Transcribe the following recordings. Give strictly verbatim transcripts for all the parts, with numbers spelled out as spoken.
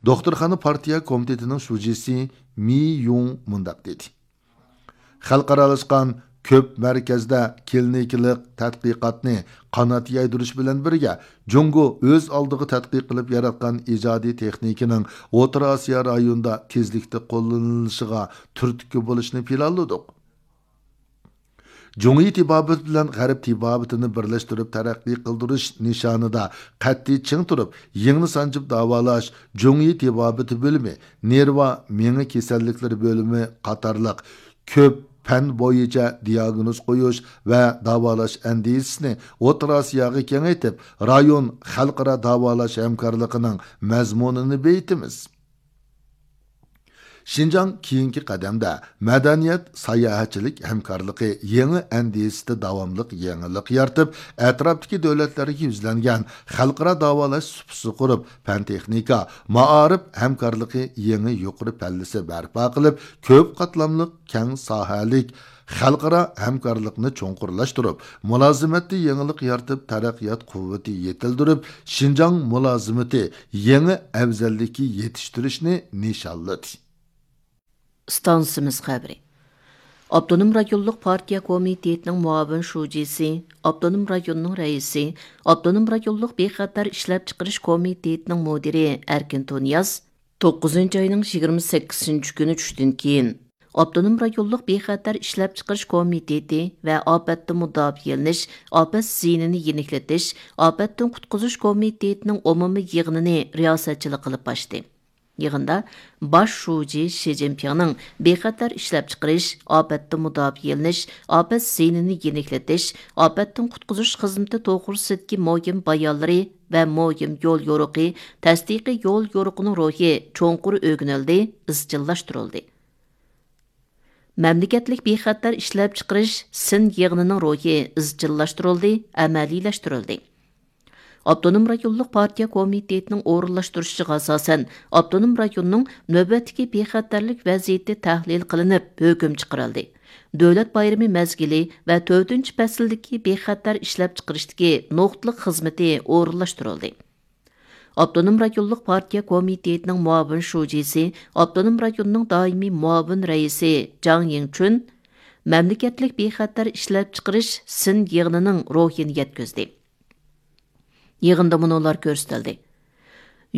دوختۇرخانا پارتىيە كومىتېتىنىڭ شۇجىسى مى يۇڭ مۇنداق دېدى: خەلقئارالاشقان كۆپ مەركەزدە كلىنىكىلىق تەتقىقاتنى قانات يايدۇرۇش بىلەن بىرگە، جۇڭگو ئۆز ئالدىغا تەتقىق قىلىپ ياراتقان ئىجادىي تېخنىكىنىڭ ئوتتۇرا ئاسىيا رايونىدا تېزلىكتە قوللىنىلىشىغا تۈرتكە بولۇشنى پىلانلىدۇق. جۇڭيى تېبابىتى بىلەن غەرب تېبابىتىنى بىرلەشتۈرۈپ تەرەققىي قىلدۇرۇش نىشانىدا قەتئىي چىڭ تۇرۇپ، يىڭنە سانجىپ داۋالاش، جۇڭيى تېبابىتى بۆلۈمى، نېرۋا، مېڭە كېسەللىكلىرى بۆلۈمى قاتارلىق كۆپ پەن بويىچە دىياگنوز قويۇش ۋە داۋالاش ئەندىزىسىنى ئوتتۇرا ئاسىياغا كېڭەيتىپ، رايون خەلقئارا داۋالاش ھەمكارلىقىنىڭ مەزمۇنىنى بېيىتىمىز. شىنجاڭ كېيىنكى قەدەمدە مەدەنىيەت، ساياھەتچىلىك ھەمكارلىقى يېڭى ئەندىزىسىدە داۋاملىق يېڭىلىق يارىتىپ، ئەتراپتىكى دۆلەتلەرگە يۈزلەنگەن خەلقئارا داۋالاش سۇپىسى قۇرۇپ، پەن-تېخنىكا، مائارىپ ھەمكارلىقى يېڭى يۇقىرى پەللىسى بەرپا قىلىپ، كۆپ قاتلاملىق، كەڭ ساھەلىك خەلقئارا ھەمكارلىقنى چوڭقۇرلاشتۇرۇپ، مۇلازىمەتتە يېڭىلىق يارىتىپ، تەرەققىيات قۇۋۋىتى يېتىلدۈرۈپ، شىنجاڭ مۇلازىمىتى يېڭى ئەۋزەللىككە يېتىشتۈرۈشنى نىشانلىدى. ئىستانسىمىز خەۋىرى. ئاپتونوم رايونلۇق پارتىيە كومىتېتىنىڭ مۇئاۋىن شۇجىسى، ئاپتونوم رايوننىڭ رەئىسى، ئاپتونوم رايونلۇق بىخەتەر ئىشلەپچىقىرىش كومىتېتىنىڭ مۇدىرى ئەركىن تۇنىياز توققۇزىنچى ئاينىڭ يىگىرمە سەككىزىنچى كۈنى چۈشتىن كېيىن، ئاپتونوم رايونلۇق بىخەتەر ئىشلەپچىقىرىش كومىتېتى ۋە ئاپەتتىن مۇداپىئەلىنىش، ئاپەت زىيىنىنى يېنىكلىتىش، ئاپەتتىن قۇتقۇزۇش كومىتېتىنىڭ ئومۇمىي يىغىنىنى رىياسەتچىلىك قىلىپ ئاچتى. يىغىندا باش شۇجى شى جىنپىڭنىڭ بىخەتەر ئىشلەپچىقىرىش، ئاپەتتىن مۇداپىئەلىنىش، ئاپەت زىيىنىنى يېنىكلىتىش، ئاپەتتىن قۇتقۇزۇش خىزمىتى توغرىسىدىكى مۇھىم بايانلىرى ۋە مۇھىم يول يورۇقى، تەستىقىي يول يورۇقىنىڭ روھى چوڭقۇر ئۆگىنىلدى، ئىزچىللاشتۇرۇلدى. مەملىكەتلىك بىخەتەر ئىشلەپچىقىرىش سىن يىغىنىنىڭ روھى ئىزچىللاشتۇرۇلدى، ئەمەلىيلەشتۈرۈلدى. ئاپتونوم رايونلۇق پارتىيە كومىتېتىنىڭ ئورۇنلاشتۇرۇشىغا ئاساسەن، ئاپتونوم رايوننىڭ نۆۋەتتىكى بىخەتەرلىك ۋەزىيىتى تەھلىل قىلىنىپ، ھۆكۈم چىقىرىلدى. دۆلەت بايرىمى مەزگىلى ۋە تۆتىنچى پەسىلدىكى بىخەتەر ئىشلەپچىقىرىشتىكى نۇقتىلىق خىزمىتى ئورۇنلاشتۇرۇلدى. ئاپتونوم رايونلۇق پارتىيە كومىتېتىنىڭ مۇئاۋىن شۇجىسى، ئاپتونوم رايوننىڭ دائىمىي مۇئاۋىن رەئىسى جاڭ يىڭچۈن مەملىكەتلىك بىخەتەر ئىشلەپچىقىرىش سىن يىغىنىنىڭ روھىنى يەتكۈزدى. يىغىندا مۇنۇلار كۆرسىتىلدى.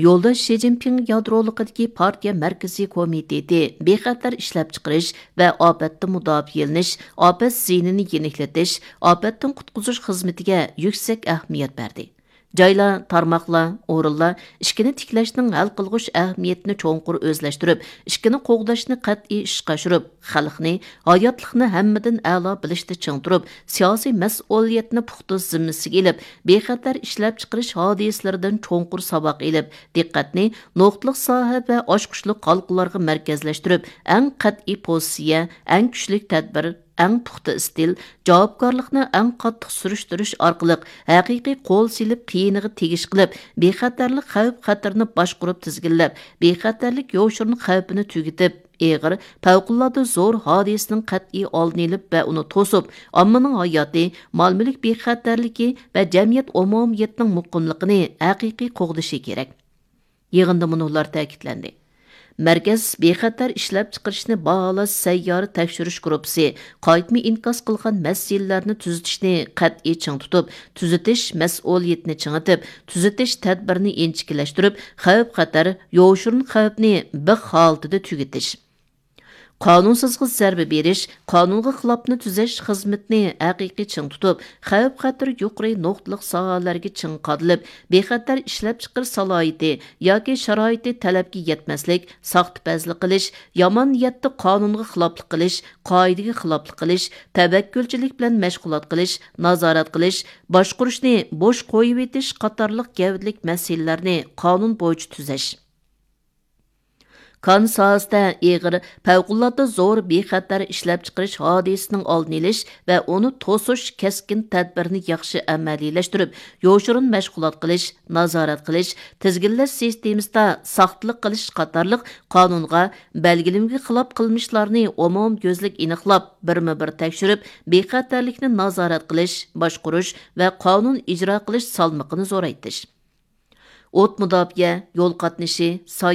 يولداش شى جىنپىڭ يادرولۇقىدىكى پارتىيە مەركىزىي كومىتېتى بىخەتەر ئىشلەپچىقىرىش ۋە ئاپەتتىن مۇداپىئەلىنىش، ئاپەت زىيىنىنى يېنىكلىتىش، ئاپەتتىن قۇتقۇزۇش خىزمىتىگە يۈكسەك ئەھمىيەت بەردى. جايلار، تارماقلار، ئورۇنلار ئىشىكىنى تىكلەشنىڭ ھەل قىلغۇچ ئەھمىيىتىنى چوڭقۇر ئۆزلەشتۈرۈپ، ئىشىكىنى قوغداشنى قەتئىي ئىشقا ئاشۇرۇپ، خەلقنى، ھاياتلىقنى ھەممىدىن ئەلا بىلىشتە چىڭ تۇرۇپ، سىياسىي مەسئۇلىيەتنى پۇختا زىممىسىگە ئېلىپ، بىخەتەر ئىشلەپچىقىرىش ھادىسىلىرىدىن چوڭقۇر ساۋاق ئېلىپ، دىققەتنى نۇقتىلىق ساھە ۋە ئاچقۇچلۇق ھالقىلارغا مەركەزلەشتۈرۈپ، ئەڭ قەتئىي پوزىتسىيە، ئەڭ كۈچلۈك تەدبىر، ئەڭ پۇختا ئىستىل، جاۋابكارلىقنى ئەڭ قاتتىق سۈرۈشتۈرۈش ئارقىلىق ھەقىقىي قول سېلىپ قىيىنىغا تېگىش قىلىپ، بىخەتەرلىك خەۋپ-خەتىرىنى باشقۇرۇپ تىزگىنلەپ، بىخەتەرلىك يوشۇرۇن خەۋپىنى تۈگىتىپ، ئېغىر، پەۋقۇلئاددە زور ھادىسىنىڭ قەتئىي ئالدىنى ئېلىپ ۋە ئۇنى توسۇپ، ئاممىنىڭ ھاياتى، مال-مۈلۈك بىخەتەرلىكى ۋە جەمئىيەت ئومۇمىيىتىنىڭ مۇقىملىقىنى ھەقىقىي قوغدىشى كېرەك. يىغىندا مۇنۇلار تەكىتلەندى. مەركەز بىخەتەر ئىشلەپچىقىرىشنى باھالاش سەييارە تەكشۈرۈش گۇرۇپپىسى قايتما ئىنكاس قىلغان مەسىلىلەرنى تۈزىتىشنى قەتئىي چىڭ تۇتۇپ، تۈزىتىش مەسئۇلىيىتىنى چىڭىتىپ، تۈزىتىش تەدبىرىنى ئىنچىكىلەشتۈرۈپ، خەۋپ-خەتەر، يوشۇرۇن خەۋپنى بىخ ھالىتىدە تۈگىتىش. قانۇنسىزغا زەربە بېرىش، قانۇنغا خىلاپنى تۈزەش خىزمىتىنى ھەقىقىي چىڭ تۇتۇپ، خەۋپ-خەتىرى يۇقىرى نۇقتىلىق ساھەلەرگە چىڭ قادىلىپ، بىخەتەر ئىشلەپچىقىرىش سالاھىيىتى ياكى شارائىتى تەلەپكە يەتمەسلىك، ساختىپەزلىك قىلىش، يامان نىيەتتە قانۇنغا خىلاپلىق قىلىش، قائىدىگە خىلاپلىق قىلىش، تەۋەككۈلچىلىك بىلەن مەشغۇلات قىلىش، نازارەت قىلىش، باشقۇرۇشنى بوش قويۇۋېتىش قاتارلىق گەۋدىلىك مەسىلىلەرنى قانۇن بويىچە تۈزەش. كان ساھەسىدە ئېغىر، پەۋقۇلئاددە زور بىخەتەر ئىشلەپچىقىرىش ھادىسىسىنىڭ ئالدىنى ئېلىش ۋە ئۇنى توسۇش كەسكىن تەدبىرىنى ياخشى ئەمەلىيلەشتۈرۈپ، يوشۇرۇن مەشغۇلات قىلىش، نازارەت قىلىش، تىزگىنلەش سىستېمىسىدا ساختىلىق قىلىش قاتارلىق قانۇنغا، بەلگىلىمىگە خىلاپ قىلمىشلارنى ئومۇميۈزلۈك ئېنىقلاپ، بىرمۇبىر تەكشۈرۈپ، بىخەتەرلىكنى نازارەت قىلىش، باشقۇرۇش ۋە قانۇن ئىجرا قىلىش سالمىقىنى زورايتىش. ئوت مۇداپىئە، يول قاتنىشى، ساياھەت،